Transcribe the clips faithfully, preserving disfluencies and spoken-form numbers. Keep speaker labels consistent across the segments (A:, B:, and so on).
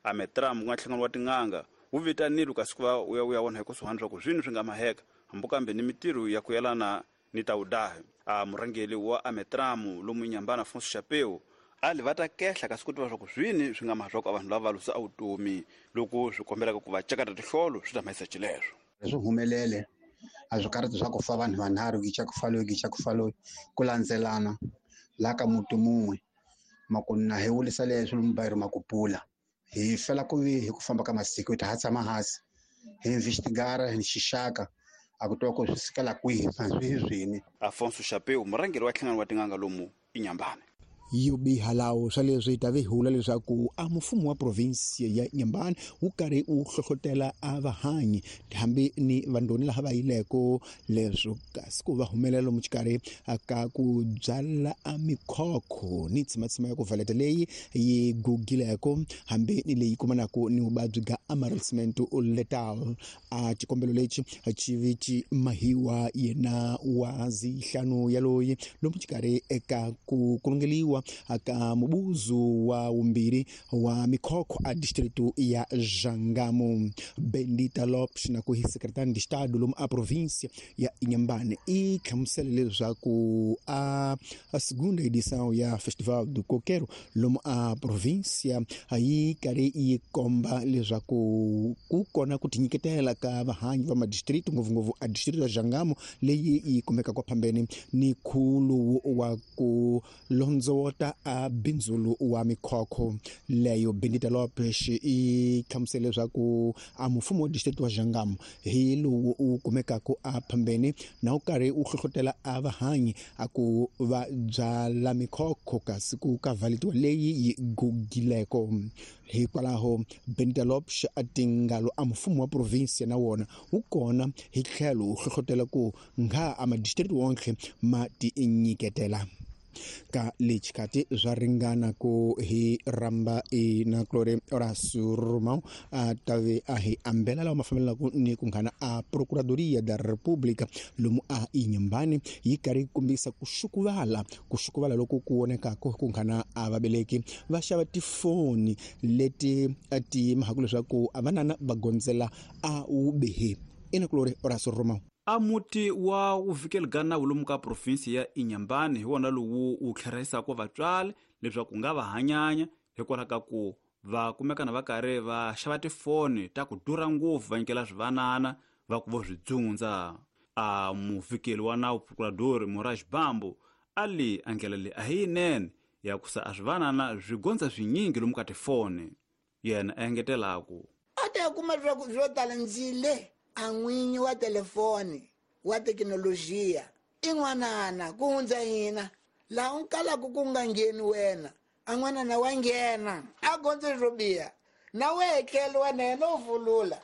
A: Ametram ku nga nhlangano wa tin'anga wu vitanile kasi ku va wu ya wu ya vona hi kusuhani swa ku swini swi nga maheka hambi kambe ni mitirho ya ku yelana ni ta wudahi. A murhangeri wa Ametram lomu Inhambane Afonso Chapeu ali va ta kehla kasi ku tiva swa ku swini swi nga maha swa ku vanhu lava va lusa a vutomi loko swi kombelaka ku va cakata tihlolo swi ta mahisa xileswo.
B: Swi humelele a swi karhi swa ku fa vanhu vanharhu gicha ku fa loyi gicha ku fa loyi ku landzelana laha ka muti mun'we makunna hi wulisa leswi lomu makupula hi fela ku vi hi ku famba ka masiku hi ta ha tshama hansi hi investigara hi xixaka a ku twa ku swi sukela kwihi swi swini.
A: Afonso Chapeu murhangeri wa nhlangano wa tin'anga lomu Inhambane.
C: Yo biha lawo swa leswi ta vi hula leswaku a mfumo wa province ya Inhambane wu karhi wu hlohlotela a vahanyi hambi ni vandoni laha va yileko leswo kasi ku va humelela lomu xikarhi ka ku byala a mikhokho ni tsimatsima ya ku valeta leyi yi gugileko hambi ni leyi kumanaka ni vuvabyi bya amarelcement letal. A xikombelo lexi xi vi xi mahiwa yena wa zihlanu yaloyi lomu xikarhi eka ku kulungeliwa aka mubuzu wa wumbirhi wa mikhokho a distrito ya Jangamo. Bendita Lopes na ku hi secretary de estado lomu a província ya Inhambane i hlamusela leswaku a a segunda edição ya Festival do Coqueiro lomu a província yi karhi yi komba leswaku ku kona ku tinyiketela ka vahanyi va madistrito ngopfungopfu a distrito ya Jangamo leyi yi kumeka kwa phambeni ni khulu wa ku londzota a bindzulu wa mikhokho leyo. Bendita Lopes i hlamusela leswaku a mfumo wa distrito wa Jangamo hi lowu u kumekaka a phambeni na wu karhi wu hlohlotela a vahanyi a ku va byala mikhokho kasi ku ka valetiwa leyi yi gugileko. Hikwalaho Bendita Lopes a tingalo a mfumo wa province na wona wu kona hi tlhelo wu hlohlotela ku nga a madistrito wonke ma tinyiketela ka lechikati swa ringana ku hi ramba i na Glore Horacio Romão a tave a hi ambela lawa ma fambelanaku ni ku nghana a Procuradoria da República lomu a Inhambane yi karhi yi kombisa ku xukuvala ku xukuvala loko ku vonekaka ku nghana a vabeleki va xava tifoni leti ti mahaku leswaku a vanana va gondzela a wubihi. Ina Glore Horacio Romão.
A: A muti wa wuvikeli ga nawu lomu ka provinsi ya Inhambane hi wona lowu wu tlherisaka vatswari leswaku nga va hanyanya hikwalaho ka ku va kumekana va karhi va xava tifoni ta ku durha ngopfu va nyikela swivanana va ku vo swi dzundza. A muvikeli wa nawu procurador Moraes Bambo a li a ndlela leyi a hi yinene ya ku sa a swivanana swi gondza swinyingi lomu ka tifoni. Yena a engetelaku
D: a ta kuma leswaku swo tala ndzile a n'winyi wa telefoni wa thekinolojiya i n'wanana ku hundza hina laha u kalaka ku nga ngheni wena a n'wanana wa nghena a gondze swo biha na wehe tlhelo wa na yena u vulula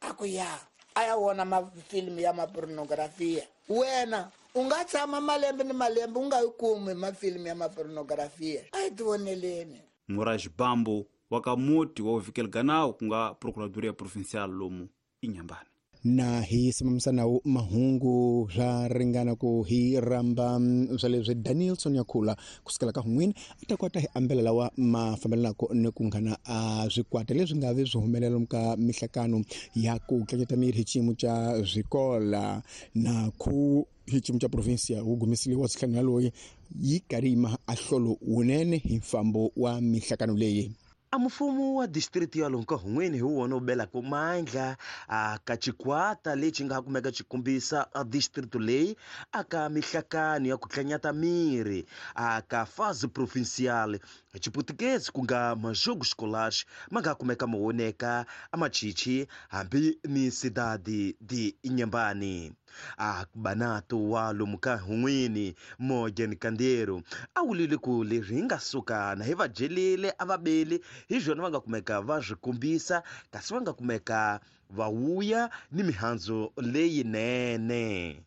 D: a ku ya a ya vona mafilimu ya mapornografiya wena u nga tshama malembe ni malembe u nga yi kumi mafilimu ya mapornografiya a hi tivoneleni.
A: Moraes Bambo wa ka muti wa vuvikeli ga nawu ku nga Procuradoria Provincial lomu Inhambane.
C: Na hi simamisa nawu mahungu swa ringana ku hi ramba swa leswi Danielson Yakhula kusukela ka hun'wini a ta kota hi ambela lawa ma fambelanaka ni ku nghana a swikwata leswi nga vi swi humelela ka mihlakano ya ku tlanyeta miri hi xiyimo xa swikola na ku hi xiyimo xa provinsia wu gumisile wa sihlanu yaloyi yi karhi yi ma a hlolo wunene hi mfambo wa mihlakano leyi.
E: A mfumo wa distrito ya lomu ka hun'wini hi wona wu belaka mandla a ka xikwata lexi nga kumeka xi kombisa a distrito leyi aka mihlakano ya ku tlanyata miri a ka fase provincial hi Xiputukezi ku nga majogo escolares ma nga kumeka ma voneka a machichi hambi ni cidade de Inhambane. A banato wa lomu ka hun'wini Morgan Kandero a wulile ku leswi hi nga suka na hi va dyelile a va beli hi swona va nga kumeka va swi kombisa kasi va nga kumeka va wuya ni mihandzu leyinene.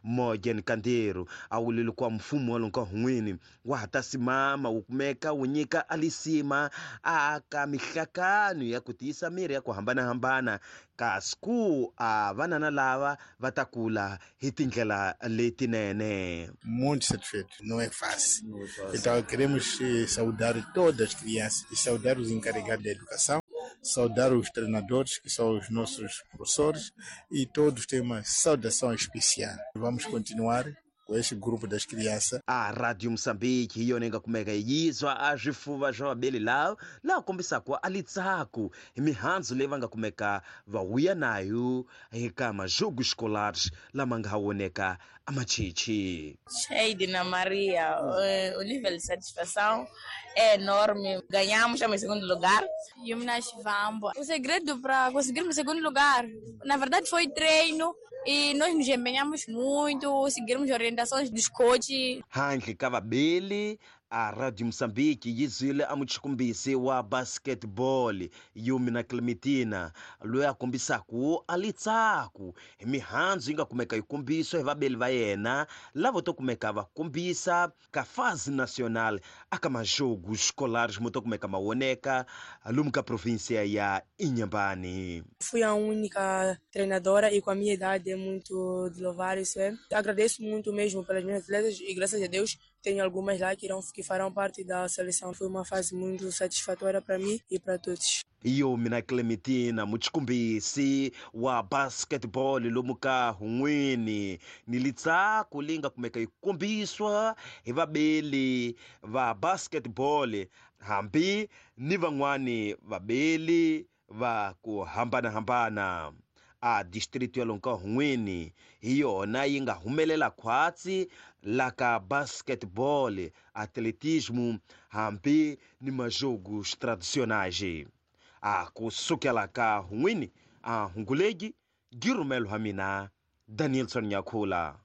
E: Morgan Kandero a wulile ku mfumo wa lomu ka hun'wini wa ha ta simama wu kumeka wu nyika alisima a ka mihlakano ya ku tiyisa miri ya ku hambanahambana kasi ku a vanana lava va ta kula hi tindlela letinene.
F: Muito satisfeito, não é fácil. Então queremos saudar todas as crianças e saudar os encarregados da educação. Saudar os treinadores, que são os nossos professores, e todos têm uma saudação especial. Vamos continuar com este grupo das crianças.
E: A Rádio Moçambique yona yi nga kumeka yizwa a swifuva swa vabeli lawo laha kombisaka a litsako hi mihandzu leyi va nga kumeka va vuya nayo eka majogo escolares lama nga voneka a machichi.
G: Sheidina Maria, o nível de satisfação é enorme. Ganhamos, estamos em segundo lugar.
H: Yumna Shivambo. O segredo para conseguirmos o segundo lugar, na verdade, foi treino. E nós nos empenhamos muito, seguimos orientações dos coaches.
E: Handle ka vabeli a Radio Moçambique yi zwile a muchikumbisi wa basketball Yumina Clementina loyi a kombisaku a litsaku hi mihandzu yi nga kumeka yi kombiswa hi vabeli va yena lavo to kumeka va kombisa ka fase nacional aka majogo escolares mo to kumeka ma voneka lomu ka província ya Inhambane.
I: Fui a única treinadora e com a minha idade é muito de louvar isso é. Agradeço muito mesmo pelas minhas atletas e graças a Deus tenho algumas lá que, irão, que farão parte da seleção. Foi uma fase muito satisfatória para mim e para todos.
E: Yumina Clementina muchikumbisi wa basketball lomu ka hun'wini ni litsako leyi nga kumeka yi kombiswa hi vabeli va basketball hambi ni van'wani vabeli va ku hambanahambana. A distrito ya lonka hun'wini hi yona yi nga humelela khwatsi la ka basketball, atletismo hambi ni majogos tradicionais. A kusukela ka hun'wini a hungulegi girumelo ha mina Danielson Nyakhula.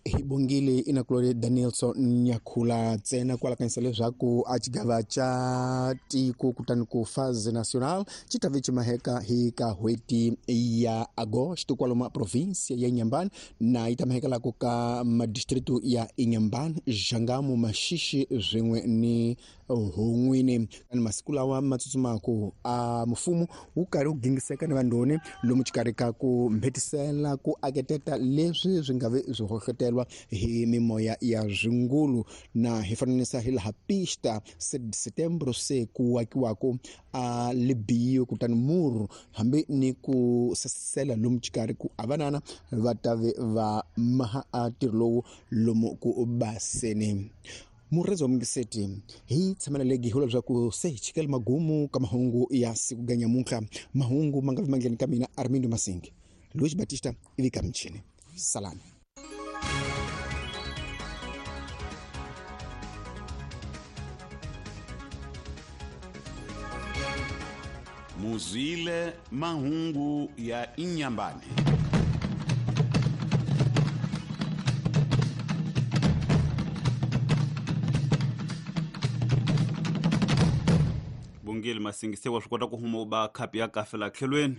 C: Hi bongile inakulore Danielson Nyakhula ntsena kwala kanisa leswaku a xigava xa tiko kutani ku phase national xi ta ve xi maheka hi ka n'hweti ya Agosto kwalomu provinsia ya Inhambane na yi ta mahekelaku ka madistritu ya Inhambane, Jangamo, Maxixe swin'we ni Hon'wini. Masiku lawa ma tsutsumaku a mfumo wu karhi wu gingiseka ni vandhoni lomu xikarhi ka ku mbhetisela ku aketeta leswi swi nga ve swi hohlotelwa hi mimoya ya zwingulu na hi fananisa hi laha pista setembro se ku akiwako a libiyo kutani muru hambi ni ku sasela lomu xikarhi ku avanana va ta ve va maha a ntirho lowu lomu ku baseni. Murezi wa mungiseti hi tshamela legi hula leswaku se hi chikela magumu ka mahungu ya siku ga nyamuntlha. Mahungu ma nga vi mandleni ka mina Armindo Masingi, Luis Batista ivi ka michini. Salani.
A: Muzile mahungu ya Inhambane. Bongile Masingi se wa swi kota ku huma u ba khapi ya kafe la tlhelweni.